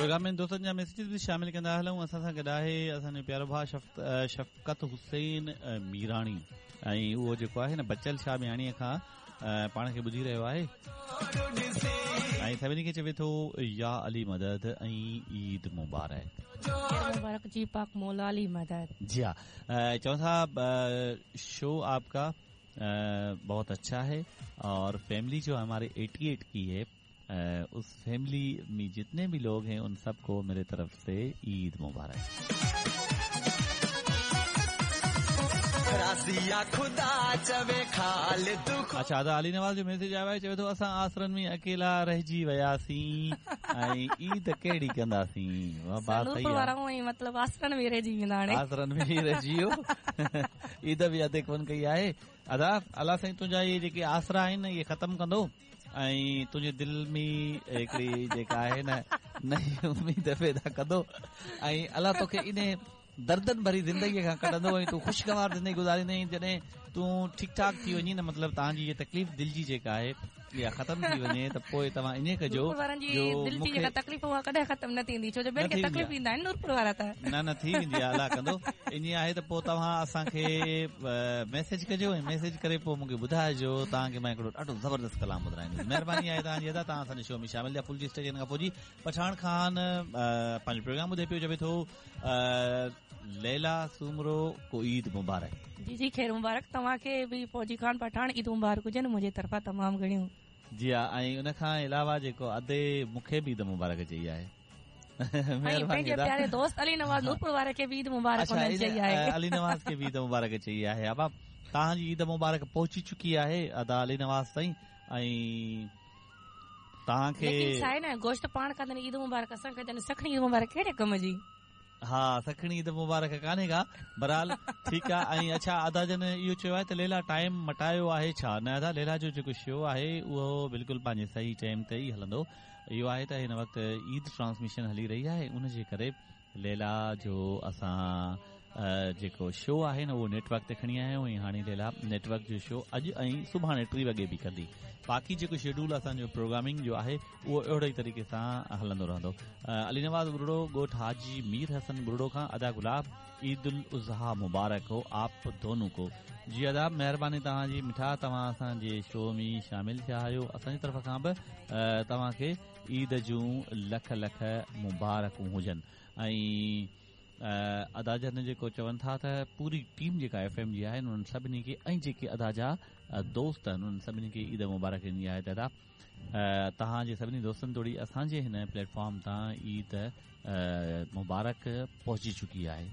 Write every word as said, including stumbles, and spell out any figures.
Programme में दोस्तनि जा मैसेज बि शामिल कंदा हलूं। असां सां गॾु आहे असांजो प्यारो भाउ शफ़क़त हुसैन मीराणी ऐं उहो जेको आहे न बचल शाह मियाणीअ खां पाण खे ॿुधी रहियो आहे ऐं सभिनी खे चवे थो या अली मदद ऐं ईद मुबारक। मुबारक जी पाक मौला अली मदद। जी हाँ, चऊं था शो आपका बहुत अच्छा है और फैमिली जो हमारे अठासी की है उस फैमिली में जितने भी लोग हैं उन सबको मेरे तरफ से ईद मुबारक। अच्छा अदा अली नवाज़ जो मैसेज आयो आहे, चवे थो असां आसरनि में अकेला रहिजी वियासीं ऐं ईद कहिड़ी कंदासीं। मतलब आसरनि में रहिजी वेंदा, हाणे आसरनि में रहिजी वियो, ईद बि अधे कोन कई आहे। अदा अलाह साईं तुंहिंजा इहे जेके आसरा आहिनि इहे ख़तमु कंदो ऐं तुंहिंजे दिलि में हिकिड़ी जेका आहे न नई उम्मीद पैदा कंदो ऐं अलाह तोखे इन दर्दन भरी ज़िंदगीअ खां कढंदो ऐं तूं ख़ुशगवार ज़िंदगी गुज़ारींदे। जॾहिं तूं ठीकु ठाक थी वञी न, मतिलबु तव्हांजी इहा तकलीफ़ दिलि जी जेका आहे इहा ख़तमु थी वञे त पोइ तव्हां ईअं कजो जो दिलि जी जेका तकलीफ़ उहा कॾहिं ख़तमु न थींदी, छो जो ॿियनि खे तकलीफ़ ईंदा आहिनि नूरपुर वारा त न न थी वेंदी आहे, अलाह कंदो। ईअं आहे त पोइ तव्हां असांखे मैसेज कजो ऐं मैसेज करे पोइ मूंखे ॿुधाइजो, तव्हांखे मां हिकिड़ो ॾाढो ज़बरदस्त कलाम ॿुधाईंदुसि। महिरबानी आहे तव्हांजी अदा, तव्हां असांजे शो में शामिल थिया। फुल जी स्टेशन खां पोइ जी पठाण खान पंहिंजो प्रोग्राम ॿुधे पियो, चवे थो लैला सूमरो को ईद मुबारक। जी जी खैर मुबारक तव्हांखे बि फौजी खान पठाण ईद मुबारक हुजनि मुंहिंजे तरफ़ां तमामु घणियूं। जी हा, ऐं उन खां अलावा जेको अदे मूंखे बि ईद मुबारक चई आहे। पंहिंजे प्यारे दोस्त अली नवाज़ नूरपुर वारे खे बि ईद मुबारक चई आहे। अली नवाज़ खे बि ईद मुबारक चई आहे। अबा तव्हांजी ईद मुबारक पहुची चुकी आहे अदा अली नवाज़ ताईं ऐं तव्हांखे छा न गोश्त पाण खाधनि ईद मुबारक असां खाधनि, सखणी ईद मुबारक कहिड़े कम जी? हा सखणी ईद मुबारक कान्हे का, बहरहाल ठीकु आहे। ऐं अच्छा अदा जन इहो चयो आहे त लैला टाइम मटायो आहे छा? न अदा, लैला जो जेको शो आहे उहो बिल्कुलु पंहिंजे सही टाइम ते ई हलंदो। इहो आहे त हिन वक़्तु ईद ट्रांसमिशन हली रही आहे, उनजे करे लैला जो असां जेको शो आहे न उहो नेटवर्क ते खणी आया आहियूं ऐं हाणे लैला नेटवर्क जो शो अॼु ऐं सुभाणे टी वॻे बि कंदी। बाक़ी जेको शेड्यूल असांजो प्रोग्रामिंग जो आहे उहो अहिड़े ई तरीक़े सां हलंदो रहंदो। अली नवाज़ बुरड़ो ॻोठ हाजी मीर हसन बुरड़ो खां अदा गुलाब ईद उल अज़हा मुबारक हो आप दोनों को। जी अदा महिरबानी तव्हांजी मिठा, तव्हां असांजे शो में शामिल थिया आहियो। असांजी तरफ़ खां बि तव्हांखे ईद जूं लख लख मुबारकूं हुजनि। ऐं अदा जन जेको चवनि था त पूरी टीम जेका एफ एम जी आहे उन्हनि सभिनी खे ऐं जेके अदा जा दोस्त आहिनि उन्हनि सभिनी खे ईद मुबारक ॾिनी आहे त अदा तव्हांजे सभिनी दोस्तनि तोड़ी असांजे हिन प्लेटफॉर्म तां ईद मुबारक पहुची चुकी आहे।